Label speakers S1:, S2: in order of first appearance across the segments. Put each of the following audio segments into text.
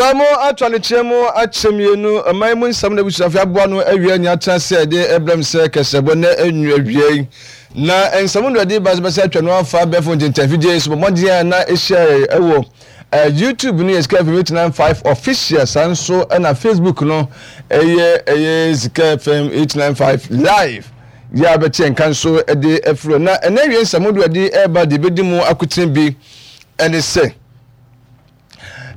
S1: Bra mu ato adekyerɛ mu akyɛ mmienu, ɔman mu nsɛm na abusuafo aboa ano awie anya atena ase a ɛde ɛbrɛ m sɛ kɛsɛbɔ nnɛ anwu awiei. Na nsɛm no ɛde ba sɛ atwa no afa abɛɛfo ntentanfidie so bɔ mmɔden a na ɛhyia ɛwɔ YouTube no yɛ Sika FM 895 official, saa nso ɛna Facebook no ɛyɛ ɛyɛ Sika FM 895 live. Yɛ a bɛte nka nso ɛde afiri na ɛnɛ awie nsɛm do ɛde ɛreba de bɛdi mu akotene bi ɛne sɛ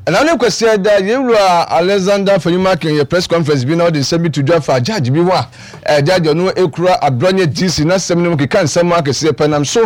S1: Ɛna ne Kwasiada, yɛn wura Alexander Fanyumakin yɛ press conference bi na ɔde nsɛm bi to dwa fa judge bi ho a eh, judge ɔno ekura Abrɔnyɛ DC n'asɛm no mu keka nsɛm akɛseɛ pɛ nam so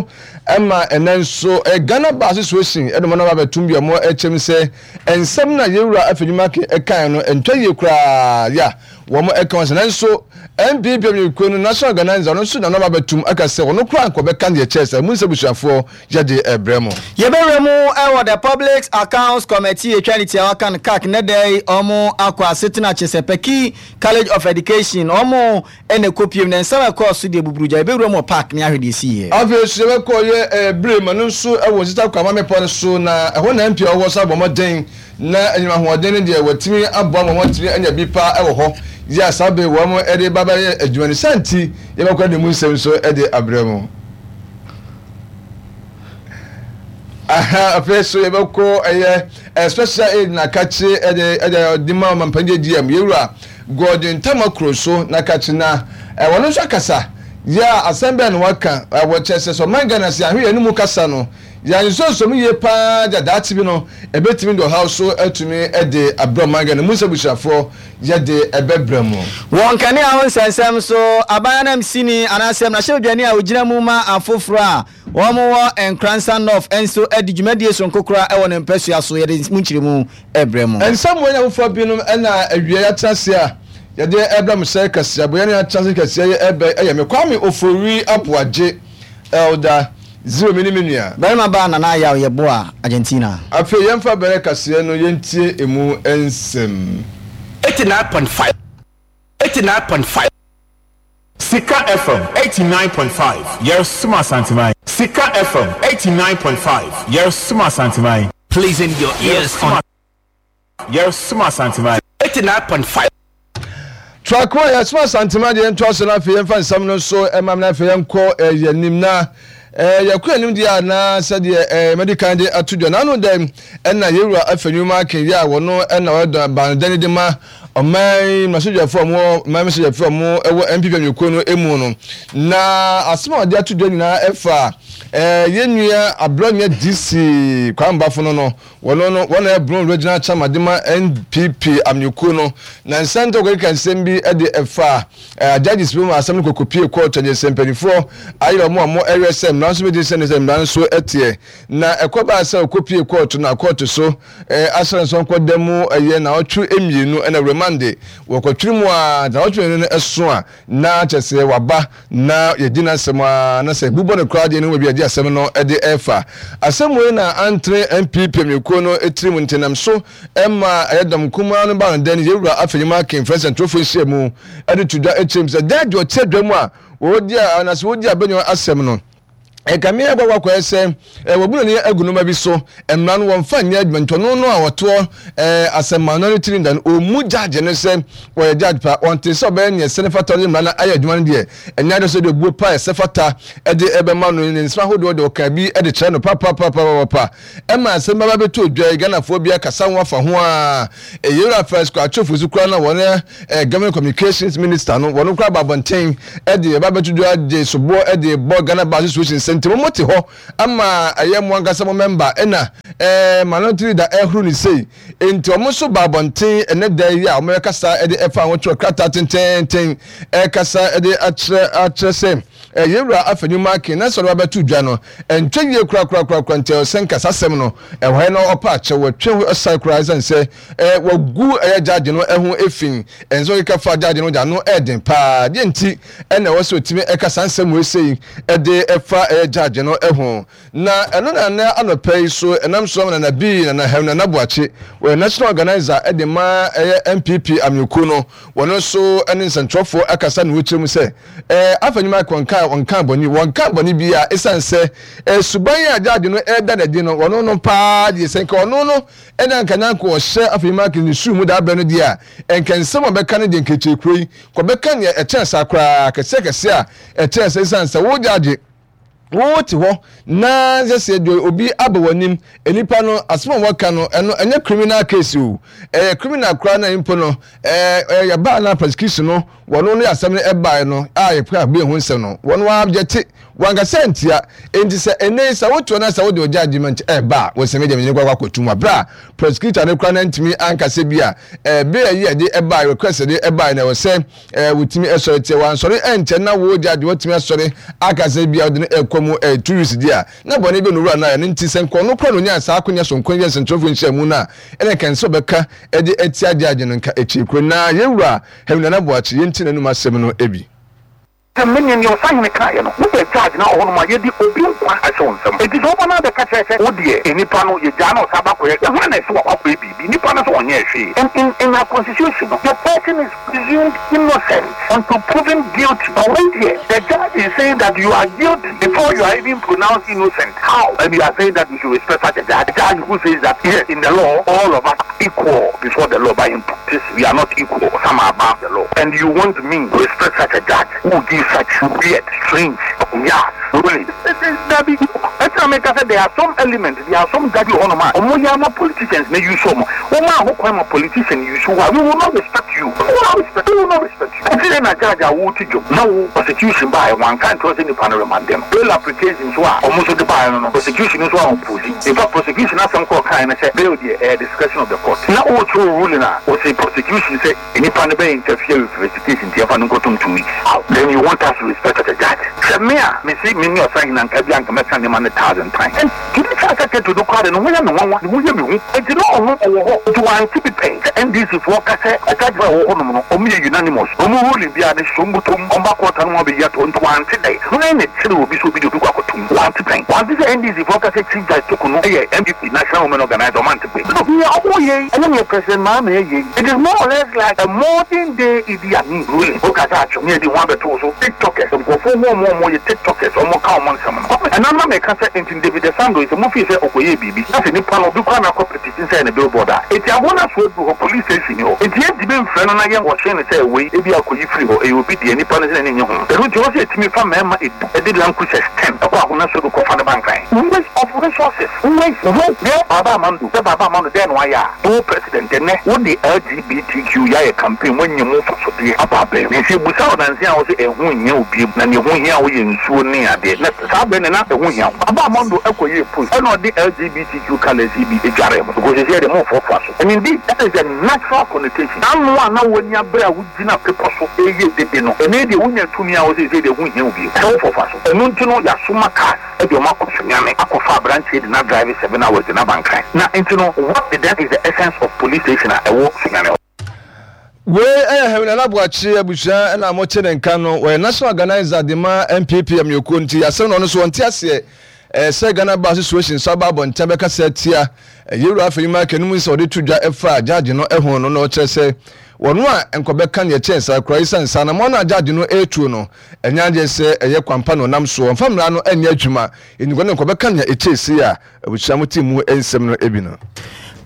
S1: ɛma ɛnɛ nso eh, Ghana Bar Association ɛde wɔn aba abɛtum bi a wɔn ɛkyɛm sɛ nsɛm na yɛn wura Afenyo-Markin ɛkae no ɛntwa yie koraa ya wɔn ɛka wɔn sɛ nanso NPP amanyɔkuo no National Organizer ɔno nso na ɔno aba abɛtum aka sɛ ɔno koraa nka ɔbɛka deɛ kyɛɛ sɛ mu nsɛ busuafoɔ yɛde rebrɛ mo.
S2: Yɛbɛwura mu wɔ The Public Accounts Committee etwa ne tiawa kan CAC nnɛ da yi wɔn akɔ asetena Chesapeake College of Education wɔn na ɛkɔ piem na nsɛm a ɛkɔɔ so deɛ buburugya yɛbɛwura mu wɔ park ne ahwɛ deɛ ɛsiiɛ.
S1: Afei nso yɛbɛkɔ yɛ bere ma no nso wɔ Nsesa Kwama mmepɔ no so na ɛhɔ na MP a ɔwɔ nso abɔ mmɔden na anyinam ahoɔden no deɛ wɔatumi aboa ma wɔatumi anya bi paa wɔ hɔ yɛ a saa bere wɔn de ba bɛyɛ adwuma no saa nti yɛbɛkɔ de mu nsɛm nso de abrɛ mo. Aha, afei so yɛbɛkɔ ɛyɛ ɛ special aid na kakye ɛde ɛde ɔde ma ɔmampanyin GM yɛwura Gordon Tamakuro so na kakye na ɛ wɔn nso akasa yɛ a asɛm bɛn na waka ɛ wɔkyɛ sɛ sɛ ɔman Ghana sɛ ahwɛ yɛn mu kasa no yɛn nsonsom yie paa gya daakye bi no ɛbɛtumi de ɔhaw so atumi ɛde abrɛ ɔman Ghana mu sɛ busuafoɔ yɛde ɛbɛbrɛ mo.
S2: Wɔ nkanea ho nsɛnsɛm so, aban ananmusini anaasɛ mmarahyɛbadwani a ogyina mu ma afoforo a wɔwɔ Nkoransa North nso adi dwumadie soronko koraa wɔ ne mpasua so. Yɛde mu nkyerɛmu rebrɛ mo.
S1: Nsɛm wei ne afoforɔ binom na awiei yɛatena ase a yɛde rebrɛ mo sɛ kaseɛbɔ. Yɛne atena ase kɛseɛ yi ɛbɛ yɛ me Kwame Ofori Aboagye, Elder Zero me ne me nua.
S2: Barima baa Nana Ayaw Yeboah, Argentina.
S1: Afei yɛmfa bɛrɛ kaseɛ no yɛntie emu nsɛm.
S3: 89.5 89.5. Sika FM 89.5 Yɛresom Asanteman. Sika FM 89.5 Yɛresom Asanteman. Pleasing your ears on. Yɛresom Asanteman. 89.5.
S1: Trako a yɛsom Asanteman deɛ yɛntoa so na afei yɛmfa nsɛm no nso ɛma na afei yɛnkɔ eh, yɛn anim na eh, yɛkɔ anim deɛ a na sɛdeɛ eh, madi kan de ato dwa na ano dɛn ɛna yɛwura afɛ nnwuma akenyɛ a wɔno ɛna wɔyɛ banodani de ma ɔman mmarahyɛdwafoɔ a wɔwɔ ɔman mmarahyɛdwafoɔ a wɔwɔ NPP amanyɔkuo no mu no na asɛm a wɔde ato dwa nyinaa ɛfa eh, yɛn nua Abrɔnyɛ DC Kwame Bafo no no Wɔno no, wɔn na ɛyɛ Brong Regional Chairman de ma NPP amanyɔkuo no. Na nsɛntɔ kɔkeka nsɛm bi de ɛfa eh, judges bi mu asɛm no kɔkɔpie kɔɔto ɛnyɛ sɛ mpanimfoɔ ayerɛ wɔn a wɔn ɛwerɛ sɛ mmara nso bɛdi sɛne sɛ mmara nso ɛteɛ. Na ɛkɔbaa sɛ ɔkɔpie kɔɔto na kɔɔto so eh, asra nso nkɔda mu ɛyɛ naawɔtwe mmienu ɛna remande wɔkɔtwere mu a naawɔtwe mmienu no ɛso a na kyerɛ sɛ waba na yɛdi n'asɛm ara na sɛ bu bɔ no koraa deɛ ne ho baabi a yɛde asɛm no de refa. Asɛm wei na antere NPP amanyɔkuo no tirim nti nam so ma ɛyɛ dɔm kumaa no baa no dɛn Yɛwura Afenyo Akin frɛ nsɛntwerɛfoɔ nhyiamu de to dwa kyerɛ mu sɛ dɛn deɛ ɔte adwa mu a wɔdi a anaasɛ wɔdi abɛnwa asɛm no Ɛkame akɔ akɔyɛ sɛ wɔabu n'ani agu nneɛma bi so. Mmara no, wɔmfa nyɛ adwuma nti ɔno no a ɔtoɔ asɛmma no ne tiri nda no, ɔmmu judge no sɛ ɔyɛ judge pa. Ɔnte sɛ ɔbɛyɛ nea ɛsɛ ne fata ɔde mmara no ayɛ adwuma no deɛ, ɛnyɛ adeɛ sɛ ɔde obuo pa a ɛsɛ fata de ɛbɛma no. Ne nsɛm ahodoɔ deɛ ɔkaa bi de kyerɛ no papapapapapa. Ɛma asɛm bɛba bɛtɔ dwa yi, Ghanafoɔ bi akasa ho afa ho ara. Yewura Felix Kwakye Ofosu koraa na wɔn Government Communications Minister no, wɔn koraa ba abɔnten de ɛba bɛto dwa de soboɔ de bɔ Ghana Bar Association sɛ nti mo te hɔ ama ɛyɛ mo ankasa mo mɛmba ɛna ɛɛ minority leader ɛhoro ne sei nti wɔn nso ba abɔnten ɛnɛ da yi a wɔn ɛkasa de ɛfa ho twerɛ krataa tententen ɛkasa de akyerɛ akyerɛ sɛ Yɛn Wura Afenyo Markin na sɛ ɔde ba bɛto dwa no, ɛntwa yie korakorakorakora nti ɛwɔ sɛ nka saa asɛm no ɛwɔ ha na ɔpa akyɛw, wɔtwe ho san koraa ɛsiane sɛ wɔagu ɛyɛ gyaagye no ho fi, ɛnsɛ ɔkeka fa gyaagye no de ano ɛɛden paa. Deɛ nti ɛna ɛwɔ sɛ ɔtumi ɛka saa nsɛm wei sei ɛde ɛfa ɛyɛ gyaagye no ho. Na ɛno na nnɛ anɔpa yi so ɛnam so ama Nana Bii, Nana Hem, Nana Boakye, wɔyɛ National Organiser de ma ɛyɛ NPP amanyɔkuo no, wɔn nso ne nsɛntwerɛfoɔ akasa na wɔkyerɛ mu sɛ ɛɛ afa nnwuma kɔnka a a ɔnkaa bɔne, wɔnkaa bɔne biara esiane sɛ eh, suban a judge no ɛreda no adi no, ɔno no paa deɛ sɛ nka ɔno no ɛna nka na nka ɔhyɛ afei Markins ne suu mu daa berɛ no deɛ a, nka nsɛm a ɔbɛka no deɛ nka akyire kuro yi, nka ɔbɛka nea ɛkyɛn saa koraa, kɛseɛ kɛseɛ a ɛkyɛn saa esiane sɛ wo judge Wote hɔ na sɛ sɛ deɛ obi aba w'anim, nipa no asɛm a wɔka no ɛno ɛnyɛ criminal case o, ɛyɛ criminal koraa na mpo no ɛɛ yɛbaa na prosecution no wɔn no asɛm no ɛbaeɛ no a yɛpɛ a bue ho nsɛm no wɔn wɔabjɛte wankasa ntia enti sɛ ɛnɛ yi sɛ wotoɔ na sɛ wode ɔgya agyeement ɛɛba a wɔsɛ medeɛ mene kɔ akɔtum aberɛ a prosecutor no koraa na ntumi ankasa bi a ɛɛ bere a yi ɛde ɛbaeɛ request ɛde ɛbaeɛ na ɛwɔ sɛ Eh, wotumi sɔre teɛ, wansɔre ɛnkyɛ na wo gya deɛ watumi asɔre aka sɛ bia wode no ɛkɔ mu eh, 2 weeks deɛ a, na bɔne bɛ no wura no a, ɛno nti sɛ nka ɔno koraa na onyaa saa akonya sononko yi yɛ nsɛnkyerɛwfoɔ nhyiamu no a, ɛna nka ɛnsɛ ɔbɛka ɛde atia gyagye no nka akyiri koro. Na yɛn wura Henry Nana Boakye, yɛntie n'anum asɛm no bi.
S4: Sɛ me ne nea ɔsahene kaeɛ no, wobɛ judge na wɔ hɔnom a, yɛde obi nkwa ahyɛ wo nsam. Enti sɛ woba na abɛka kyerɛ sɛ wo deɛ nnipa no yɛgyaa na ɔsan ba kɔyɛ, hwan na ɛse wakɔ akɔyɛ biribi? Nnipa no nso ɔnyɛɛ hwee. And in in our constitution no, the person is presumed innocent until proven guilty. But wei deɛ, the judge is saying that you are guilty before you are even pronounced innocent. How? And you are saying that we should respect such a judge? A judge who says that yes, in the law, all of us are equal before the law, but in practice, we are not equal. Some are above the law. And you want me to respect such a judge who will give such weird, strange, yes, ruling? Dabi, ɛti na meka sɛ there are some elements, there are some judges hɔ nom a wɔn yɛ ama politicians na use wɔn. Wɔn a ho kwan ma politician use wo a, we will not respect you. We will not respect, we will not respect you. Ɛti na judge a wote dwom na wo prosecution baeɛ wɔanka nkyerɛ wo sɛ nipa no remande no. Bail application nso a wɔn nso de baeɛ no no, prosecution nso a oppose. In fact, prosecution asɛm koro ɔkaeɛ ne sɛ bail deɛ ɛyɛ discretion of the court. Na worekyerɛ wo ruling a, ɔse prosecution sɛ nipa no bɛ interfere with investigation nti yɛmfa no nkɔtom 2 weeks. How then you want us to respect such a judge? Sɛ me a, mese me ne ɔsahene anka bi a anka mɛka nneɛma no thousand times. And judicial secretary no koraa de ne ho yɛ me nwanwa, ne ho yɛ me hu. Enti na ɔno ɔwɔ hɔ nti wante bi pɛn sɛ NDC foɔ ka sɛ judge a ɛwɔ hɔ nom no ɔmo yɛ unanimous, ɔmo ruling biara no hyɛ ɔmo bɔtɔ mu, ɔmo ba court a na ɔmo abɛyi ato hɔ nti wante dɛn. Hwan na ɛkyeree obi sɛ obi de obi kɔ akɔto mu? Wante pɛn. Wante sɛ NDC foɔ ka sɛ Chief Judge Toko no yɛ NPP National Women Organizer, ɔmo ante pɛn. No, nea ɔmo yɛ yi ɛne nea President Mahama yɛ yi, it is more or less like a modern day Idi Amin ruling. Woka sɛ atwom ne yɛde ho abɛto wo so, tiktokers, nkurɔfoɔ hu ɔmo a ɔmo yɛ tiktokers, ɔmo ka ɔmo nsɛm no. Kwame, ɛno na meka sɛ nti David Esando yi sɛ mo fii sɛ ɔkɔyɛɛ biribi na sɛ nipa no obi koraa na akɔ petition sɛ ɛyɛ ne billboard a, enti aboɔ no aso aduru hɔ, police station ni hɔ, enti yɛntumi mfrɛ no na yɛn wɔhyee no sɛ wei ebia kɔyi firi hɔ, ɛyɛ obi deɛ, nipa no sɛ n'ani nnye ho. Ɛno nti ɛwɔ sɛ yɛtumi fa mmarima du de Land Cruisers ten kɔ Ahona Sodo kɔfa no ba Nkran. Waste of resources, waste, wo deɛ Baaba Amando sɛ Baaba Amando dɛn na wayɛ a, wo president ɛnnɛ wode LGBTQ yi ayɛ campaign woanya mu mfasodeɛ aba abɛn mu, nti yɛbusa wo nansa yi a wose ɛho nhia wo biom na deɛ ɛho hia wo yɛ nsuo ne adeɛ na Saa bere no na ɛho hia. Ɔbaa Mondo kɔyɛɛ post ɛna ɔde LGBTQ colours yi bi dwaree ho because seesei deɛ momfoafoa so. And indeed that is the natural connotation. Ano a na w'ani abere a wogyina bepɔ so reyɛ dede no, ɛnnɛ yi deɛ wonya tumi a wo seesei deɛ ɛho nhia wo bio sɛ wofoafoa so. Ɛno nti no yɛasoma cars de wɔn akɔ Sunyani akɔfa aberanteɛ de no adrive 7 hours de no aba Nkran. Na nti no what then is the essence of police station a ɛwɔ Sunyani hɔ?
S1: Wei yɛ Henry Nana Boakye abusua na mote ne nka no. Wɔyɛ National Organiser de ma NPP amanyɔkuo nti asɛm no ɔno nso ɔnte aseɛ sɛ Ghana Bar Association nso aba abɔnten abɛkasa atia Yɛwura Afenyo Markin no mu nsɛm a ɔde to dwa ɛfa judge no ho no na ɔkyerɛ sɛ wɔn a nkɔbɛka neɛ ɛkyɛn saa koraa esiane sɛ anamɔn no a judge no retuo no ɛnyɛ adeɛ sɛ ɛyɛ kwampa na ɔnam soɔ ɔmfa mmara no nyɛ adwuma nti wɔn nkɔbɛka nea ɛkyɛn sei a Abusua mo te mu nsɛm no bi no.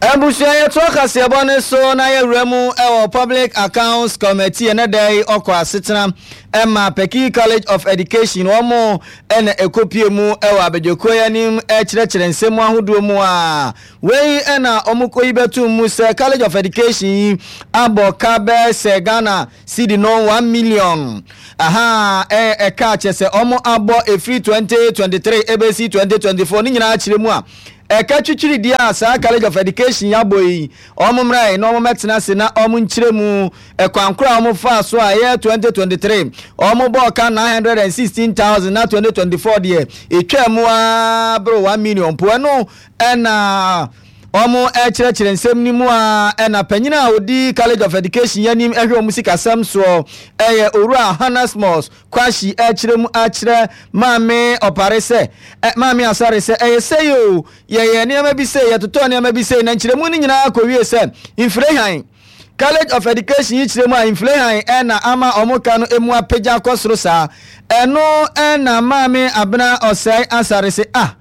S2: Abusua yɛtoa kaseɛbɔ no so na yɛwura mu wɔ Public Accounts Committee ɛnɛ da yi ɔkɔ asetena ɛma Peki College of Education wɔn ɛna ɛkɔpie mu ɛwɔ abadwakuo yi anim ɛkyerɛkyerɛ nsɛm mu ahodoɔ mu a wei ɛna wɔn kɔyi bɛto mu sɛ College of Education yi abɔ ka bɛɛ sɛ Ghana Cedi no 1 million aha ɛ ɛka kyɛ sɛ ɔmo abɔ efiri 2023 ebesi 2024 ne nyinaa kyerɛ mu a ɛka twitwiri deɛ a saa College of Education yabɔ yi ɔmo mmra yi na ɔmo mɛtena ase na ɔmo nkyerɛ mu ɛkwan koro a ɔmo faa so a ɛyɛ 2023 ɔmo bɔɔ ka 916,000 na 2024 deɛ etwa mu aa boro 1 million po. Ɛno ɛna wɔn rekyerɛkyerɛ nsɛm no mu a ɛna panyin a odi College of Education anim hwɛ wɔn sikasɛm soɔ ɛyɛ Owura Hanasmus Kwashi ɛrekyerɛ mu akyerɛ Maame Ɔpare sɛ ɛ Maame Asare sɛ ɛyɛ sei o, yɛyɛ nneɛma bi sei, yɛtotɔɔ nneɛma bi sei, na nkyerɛmu no nyinaa kɔwie sɛ mfire hann. College of Education yi kyerɛ mu a inflehan na ama wɔn ka no mu apagya akɔ soro saa. Ɛno na Maame Abena Osei Asare se ah,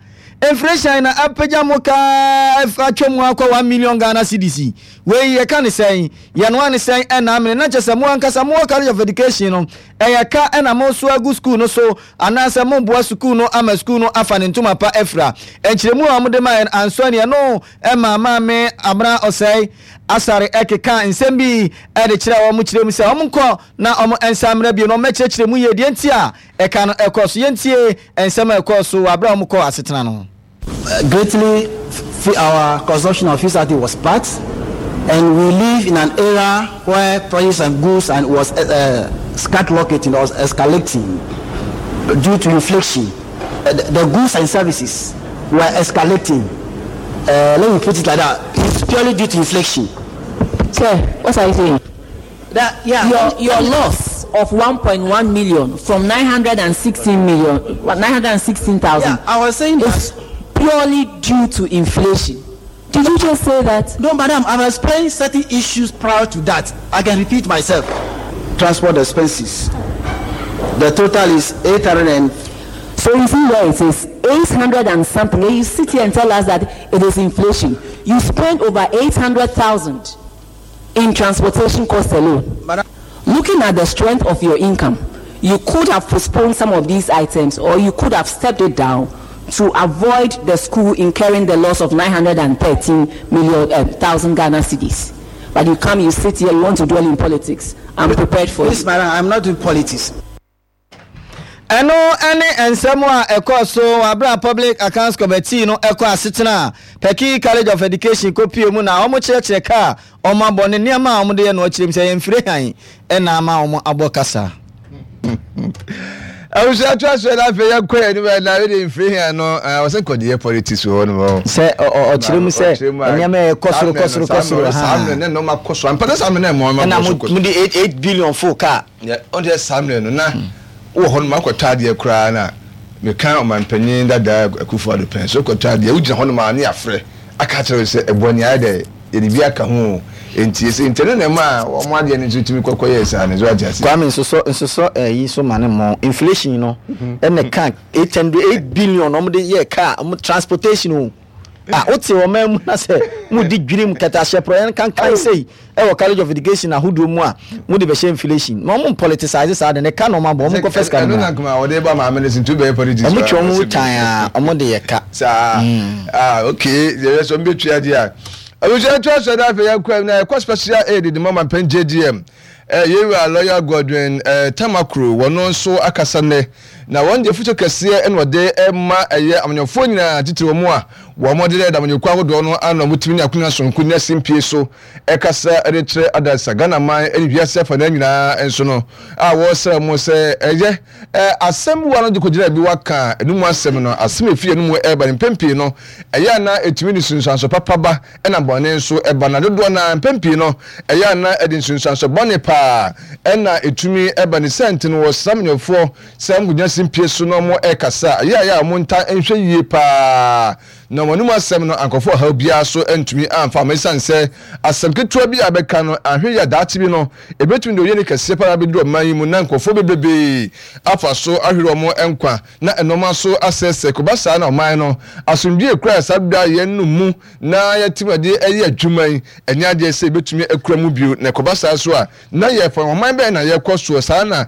S2: inflation na apagya mo ka atwa mu akɔ 1 million Ghana cedis yi. Wei yɛka ne sɛn? Yɛnoa ne sɛn ɛna amene? Na kyerɛ sɛ mo ankasa mowɔ College of Education no, ɛyɛ ka na mosoa agu sukuu no so anaasɛ moboa sukuu no ama sukuu no afa ne ntoma pa afira? Nkyerɛmu a wɔde maeɛ no ansɔ ani. Ɛno maa Maame Abena Osei Asare kekaa nsɛm bi de kyerɛɛ wɔn kyerɛɛ mu sɛ wɔnkɔ na wɔnsan mmra bio na wɔmmɛkyerɛkyerɛ mu yie deɛ nti a ɛka no kɔɔ so. Yɛntie nsɛm a ɛkɔɔ so wɔ berɛ a wɔkɔɔ asetena no.
S5: Greatly our consumption of fuel was part and we live in an era where prices and goods and was uh, skyrocketing or escalating due to inflation. Uh, the, the goods and services were escalating. Uh, let me put it like that. It's purely due to inflation.
S6: Sir, what are you saying?
S5: That, yeah.
S6: Your, your loss of 1.1 million from 916 million, 916,000.
S5: Yeah, I was saying
S6: is purely due to inflation. Did you just say that?
S5: No, madam, I've explained certain issues prior to that. I can repeat myself. Transport expenses. The total is 800 and
S6: So you see where it is, 800 and something. You sit here and tell us that it is inflation. You spend over 800,000 in transportation costs alone.
S5: Madam.
S6: Looking at the strength of your income, you could have postponed some of these items or you could have stepped it down to avoid the school incurring the loss of 913 million, uh, thousand Ghana cedis. But you come, you sit here, you want to dwell in politics. I'm prepared for
S5: Please,
S6: you.
S5: madam, I'm not doing politics.
S2: Ɛno ne nsɛm a ɛkɔɔ so wɔ bere a Public Accounts Committee no kɔ asetena a Peki College of Education kɔpue mu na wɔkyerɛkyerɛ ka a wɔabɔ ne nneɛma a wɔde yɛ no akyerɛ mu sɛ ɛyɛ mfiri hann na ama wɔabɔ kasa.
S1: Abusua to aso na afei yɛnkɔ yɛn anim na wede mfiri hann no wɔsɛ nkɔde yɛ politics wɔ hɔ nom.
S2: Sɛ ɔkyerɛ mu sɛ nneɛma ɛkɔ soro kɔ soro kɔ soro
S1: saa mmerɛ ne nneɛma kɔ soro ampa sɛ saa mmerɛ na ɛmɔ
S2: ɛna mo de 8 billion fo kaa.
S1: Yɛ ɔn sɛ saa mmerɛ no na wowɔ hɔ nom akɔtɔ adeɛ koraa na meka ɔmanpanyin dada Akufo Addo pɛn so kɔtɔ adeɛ wogyina hɔ nom a ne yɛafrɛ aka akyerɛ wo sɛ ɛboɔ nea ayɛ dɛ yɛde bi aka ho o enti ɛsɛ nti ɛno na ɛmaa wɔn adeɛ no nso tumi kɔkɔ yɛɛ saa no so wate aseɛ.
S2: Kwame nsosɔ nsosɔ ɛyi so ma ne mmɔn inflation no ɛna ɛka 800 8 billion wɔn de yɛ car wɔn transportation o. Ah, wote ɔman mu na sɛ modi dwirim kɛtɛahyɛ porɔeɛ nkankan sei ɛwɔ college of education ahodoɔ mu a mode bɛhyɛ inflation na ɔmo politicize saa de ne ka na ɔmo abɔ ɔmo nkɔfɛ sika no
S1: ɛno na nkoma wɔde ba maame no so nti wobɛyɛ politics
S2: ɔmo twe ɔmo tan a ɔmo de yɛ ka
S1: saa ah okay yɛyɛ sɛ ɔmo bɛtua deɛ a abusua to asɔ na afei yɛkɔ na yɛkɔ special aid de ma mampɛn JGM eh, yɛwura lawyer Godwin eh, Tamakuro wɔno nso akasa nnɛ Na wɔn de afutuo kɛseɛ na wɔde ma ɛyɛ amanyɔfoɔ nyinaa, titire wɔn a wɔn de deda amanyɔkuo ahodoɔ no ano a wɔtumi nya akonya sononko nya simpie so kasa de kyerɛ adansa Ghana man ne wiase afanaa nyinaa nso no a wɔresrɛ wɔn sɛ ɛyɛ asɛm bi wa no de kɔgyina bi waka ɛno mu asɛm no asɛm ɛfiri ɛno mu ɛreba no mpɛn pii no ɛyɛ a na ɛtumi de nsunsuanso papa ba ɛna bɔne nso ɛba na dodoɔ no ara mpɛn pii no ɛyɛ a na ɛde nsunsuanso bɔne paa ɛna ɛtumi ɛba ne saa nti no wɔsrɛ amanyɔfoɔ sɛ wɔn kɔgyina simpie so na wɔn ɛrekasa a ɛyɛ a ɛyɛ a wɔn ntaa nhwɛ yie paa na wɔn anum asɛm no ankɔfa ɔhaw biara so antumi amfa ama ɛsiane sɛ asɛm ketewa bi a bɛka no anhwɛ yie a daakye bi no ɛbɛtumi de oyiani kɛseɛ paa abɛduru ɔman yi mu na nkurɔfoɔ bebrebee afa so ahwere wɔn nkwa na nnoɔma so asɛesɛe. Kɔba saa na ɔman no asomdwoeɛ kura saa berɛ a yɛn no mu na yɛatumi de ɛyɛ adwuma yi, ɛnyɛ adeɛ sɛ yɛbɛtumi akura mu bio. Na ɛkɔba saa nso a, na yɛfa ɔman bɛn na yɛkɔ soɔ? Saa na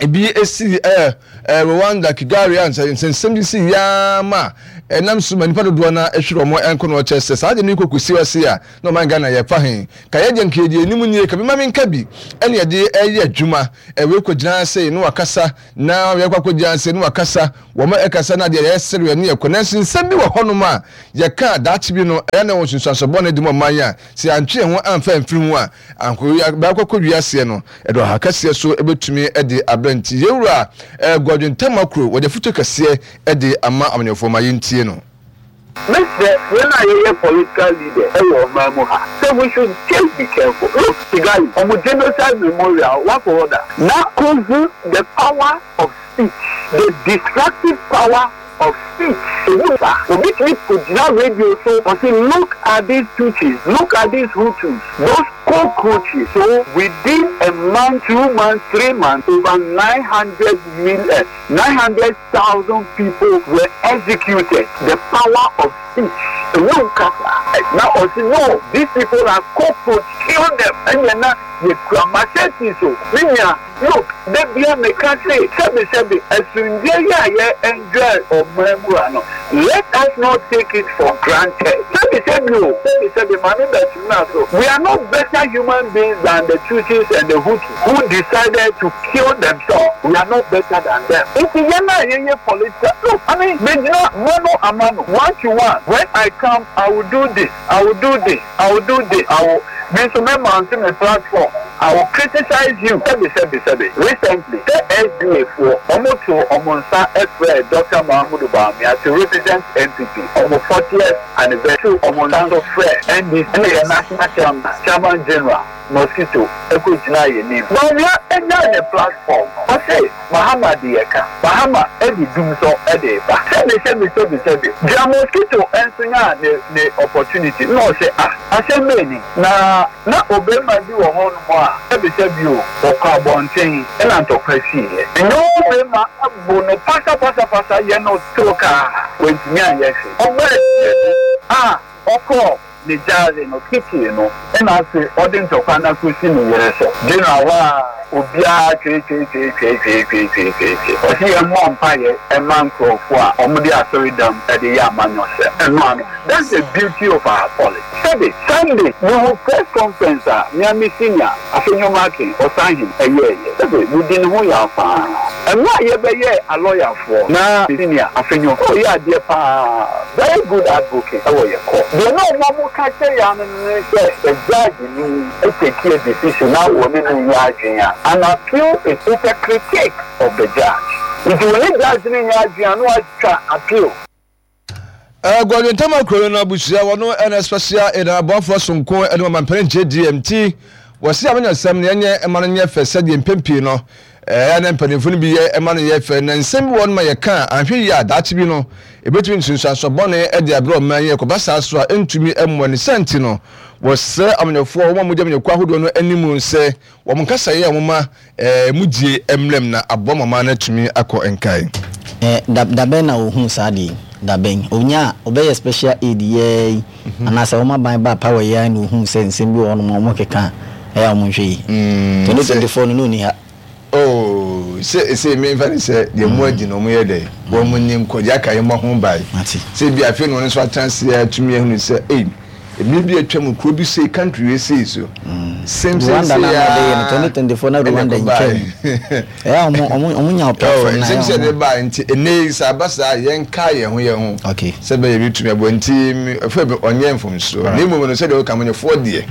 S1: ebi esi ɛɛ ɛɛ Rwanda, Kigali a nsɛnsɛm bi si yaa ma ɛnam so ma nipa dodoɔ na ɛhwere wɔn nkɔ na ɔkyɛ sɛ saa deɛ no kɔ kɔsi ase a na ɔman Ghana yɛfa he ka yɛ deɛ nka yɛdeɛ anim nie ka bi ma menka bi ɛne yɛde ɛyɛ adwuma ɛwei kɔgyina ase na wakasa Na yɛkɔ akɔgyina ase na wakasa, wɔn ɛkasa na deɛ yɛsereɛ ne yɛkɔ. Nanso nsɛm bi wɔ hɔnom a yɛka a daakye bi no ɛyɛ na ɛwɔ nsunsuansoɔ bɔne de ma ɔman yi a sɛ yɛantwe yɛn ho amfa amfiri ho a anko bɛakɔ akɔ wiaseɛ no ɛde ɔhaw kɛseɛ so ɛbɛtumi de abrɛ. Nti yɛn wura Godwin Tamakuro wɔde afutuo kɛseɛ de ama amanyɔfoɔ ma yɛntie no.
S7: Mɛsrɛ yɛn a yɛyɛ political leaders wɔ ɔman mu ha sɛ we should just be careful. Look, Kigali, wɔn genocide memorial, woakɔ hɔ da? Na kohu the power of speech, the destructive power. of speech. Ɛdu saa, obi tumi kɔgyina radio so, ɔse look at these Tutsis, look at these Hutus, those cockroaches. So within a month, 2 months, 3 months, over 900 million, 900,000 people were executed. The power of speech. Ɛwɔ kasa. Na ɔse no, these people are cockroach, kill them. Ɛnyɛ na yɛkura machete so. Me nua, look, da bia meka se, sɛbi sɛbi, asomdwe yi a yɛ enjoy ɔman mu ha no, let us not take it for granted. Sɛbi sɛbi o, sɛbi sɛbi, maame bɛtena so. We are not better human beings than the Tutsis and the Hutus who decided to kill themselves. We are not better than them. Nti yɛn a yɛyɛ political, look, I mean, megyina mano a mano, one to one. When I come, I will do this, I will do this, I will do this, I will, me nso mɛ mount me platform, I will criticize you. Sɛbi sɛbi sɛbi. Recently, sɛ SDA foɔ, ɔmo to ɔmo nsa ɛfrɛ Dr. Mahamudu Bawumia to represent NPP, ɔmo 40th anniversary, ɔmo nsa nso frɛ NDC, ɛna yɛ national chairman, chairman general, Mosquito, ɛkɔ gyina yɛ nim. Bawumia ɛnya ne platform no, ɔse Mahama de yɛ ka, Mahama ɛde dum so ɛde ba. Sɛbi sɛbi sɛbi sɛbi. Deɛ Mosquito nso nya ne opportunity, na ɔse ah, asɛm bɛɛ ni. Na na ɔbarima bi wɔ hɔnom a, sɛbi sɛbi o, ɔkɔ abɔnten ɛna ntɔkwa siiɛ. Ɛnyɛ ɔbarima abo no pasapasapasa yɛ no torokaa, wantumi anyɛ hwee. Ɔbaa fie no a ɔkɔɔ ne gyaade no, kitchen no, ɛna afei ɔde ntɔkwa no akɔsi ne yere so. General hɔ a, obiara tweetweetweetweetweetweetwee. Ɔse yɛmmɔ mpaeɛ mma nkurɔfoɔ a wɔde asɔredam de yɛ amanyɔsɛm. Ɛno ano. That's the beauty of our politics. Sɛbe, Sunday, mehu press conference a me ara me senior, Afenyo Markin, Ɔsahene, ɛyɛeɛ. Sɛbe, medi ne ho yaw paa. Mmerɛ a yɛbɛyɛɛ alɔyafoɔ, na me senior, Afenyo, na ɔyɛ adeɛ paa, very good advocate wɔ yɛn court. Deɛ na wɔn a wɔka kyerɛ yɛn ano no ne sɛ, sɛ judge no take a decision na wɔne no nyɛ adwene a, an appeal is it's a critique of the judge. Nti wɔne judge no nyɛ adwene a, na watwa appeal.
S1: Godwin Tamakuro no abusua wɔno ɛna special aid aboafoɔ sonko ɛne ɔmampanin JDM nti wɔsi amanyɔsɛm no yɛnyɛ ɛma no nyɛ fɛ sɛdeɛ mpɛn pii no ɛyɛ na mpanimfoɔ no bi yɛ ɛma no yɛ fɛ na nsɛm bi wɔ no ma yɛka a anhwɛ yie a daakye bi no ɛbɛtumi nsunsuansoɔ bɔne ɛde abrɛ ɔman yi ɛkɔba saa so a ɛntumi mmoa ne saa nti no wɔsrɛ amanyɔfoɔ wɔn a wɔgya amanyɔkuo ahodoɔ no anim sɛ wɔn nkasaeɛ a wɔma Ɛɛ mu die mmerɛm na aboa ma ɔman no atumi akɔ nkae.
S2: Eh, da dabɛn na ohuu saa adeɛ yi? Dabɛn? Onyaa, ɔbɛyɛ special aid yɛɛ yi, anaasɛ wɔn aban baa power yi ara na ohuu sɛ nsɛm bi wɔ hɔnom a wɔkeka a, ɛyɛ a wɔnhwɛ yie. 2024 no, na ɔnni ha.
S1: Oh, sɛ sɛ memfa ne sɛ deɛ mo adi no wɔn yɛ dɛ, wɔn ni nkɔ, deɛ aka yɛ mmɔ ho ban.
S2: Mate.
S1: Sɛ bi afei na ɔno nso atena ase atumi ahunu sɛ, ei, Mmere bi a atwa mu, kuro bi sei, country wei sei so. Same same
S2: Rwanda
S1: sei
S2: na na ɔde yɛ no
S1: aa
S2: 2024 na
S1: ɛna
S2: Rwanda
S1: ɛkɔ
S2: ntwam.
S1: baeɛ.
S2: Ɛyɛ a ɔmo ɔmo ɔmo nya
S1: Oh,
S2: platform na
S1: nsɛm
S2: ɛyɛ
S1: sɛ
S2: ɔmo.
S1: ɛde baeɛ nti ɛnnɛ yi sɛ aba saa a yɛnkae yɛn ho yɛn ho
S2: Okay.
S1: sɛ ɛbɛyɛ yɛbɛtumi aboa nti me ɛfɛ bi ɔnyɛ mfomsoɔ na mmom no sɛdeɛ woka amanyɔfoɔ deɛ.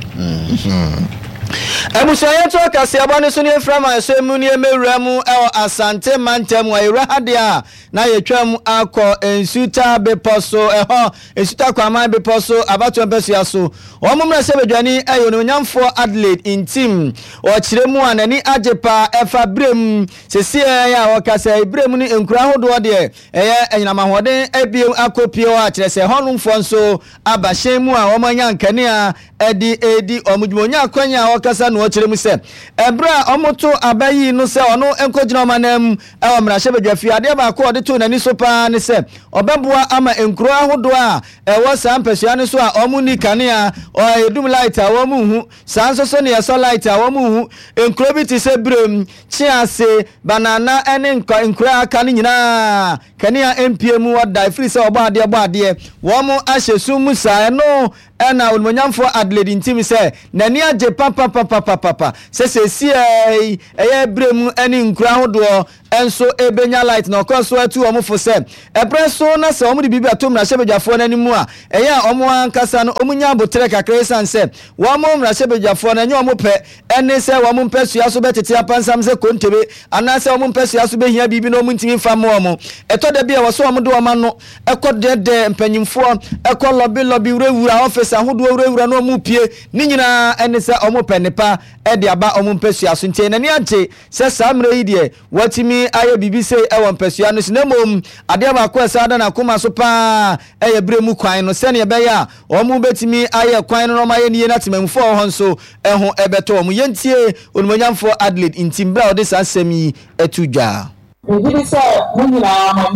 S2: Abusua yɛntoa kaseɛbɔ no so ne yɛmfiri amanhyɛ mu ne yɛmmɛwura mu wɔ Asante mantam mu a yɛwura ha deɛ a na yɛtwam akɔ Nsuta bepɔ so ɛhɔ Nsuta Kwaman bepɔ so abatoɔ mpasua so. Wɔn mmarahyɛbadwani yɛ Onuonyamfoɔ Adelaide Ntim. Ɔkyerɛ mu a n'ani agye paa ɛfa berɛm seseɛ a ɔkasa yi berɛm no nkuro ahodoɔ deɛ ɛyɛ anyinam ahoɔden abiem akɔ pie hɔ a kyerɛ sɛ hɔnomfoɔ nso aba hyɛn mu a wɔn anya nkanea de redi wɔn dwuma. Ɔnya akwanya a ɔkasa na ɔkyerɛ mu sɛ ɛberɛ a wɔto aba yii no sɛ ɔno nkɔgyina wɔn ananmu wɔ mmarahyɛbadwafie, adeɛ baako a ɔde too n'ani so pa ara ne sɛ ɔbɛboa ama nkuro ahodoɔ a ɛwɔ saa mpasua no so a wɔn nni kanea, ɛdum light a wɔn nhu, saa nso so na yɛsɔ light a wɔn nhu. Nkuro bi te sɛ Birem, Kyease, Banana ne nkuro a aka no nyinaa kanea mpue mu hɔ da ɛfiri sɛ ɔbɔ adeɛ bɔ adeɛ wɔn ahyɛ sum mu saa. Ɛno Ɛna Onimuonyamfoɔ Adelaide ntim sɛ n'ani agye papapapapapa sɛ seesei ɛyɛ berɛ mu ne nkuro ahodoɔ nso rebɛnya light na ɔkɔ so atu wɔn fo sɛ ɛberɛ so na sɛ wɔde biribi bɛto mmarahyɛbadwafoɔ no anim a ɛyɛ a wɔn ankasa no wɔnya aboterɛ kakra ɛsiane sɛ wɔn mmarahyɛbadwafoɔ no ɛnyɛ wɔn pɛ ɛne sɛ wɔn mpasua so bɛtete apansam sɛ kontebe anaasɛ wɔn mpasua so bɛhia biribi na wɔn ntumi mfa mmoa wɔn. Ɛtɔ da bi a ɛwɔ sɛ wɔde wɔn ano kɔ dɛɛdɛɛ mpanyimfoɔ, kɔ lɔbe lɔbe wurawura ɔfese ahodoɔ wurawura na wɔn pue. Ne nyinaa ɛne sɛ wɔn pɛ nnepa de aba wɔn mpasua so. Nti n'ani agye sɛ saa mmerɛ yi deɛ watumi Wɔatumi ayɛ biribi sei wɔ mpasua no so na mmom adeɛ baako a ɛsan da n'akoma so pa ara yɛ berɛ mu kwan no sɛdeɛ ɛbɛyɛ a wɔbɛtumi ayɛ kwan no na wɔayɛ no yie na temanmufoɔ a wɔwɔ hɔ nso ho bɛtɔ wɔn. Yɛntie Onimuonyamfoɔ Adelaide Ntim berɛ a ɔde saa nsɛm yi to dwa.
S8: Megye di sɛ mo nyinaa mo ani.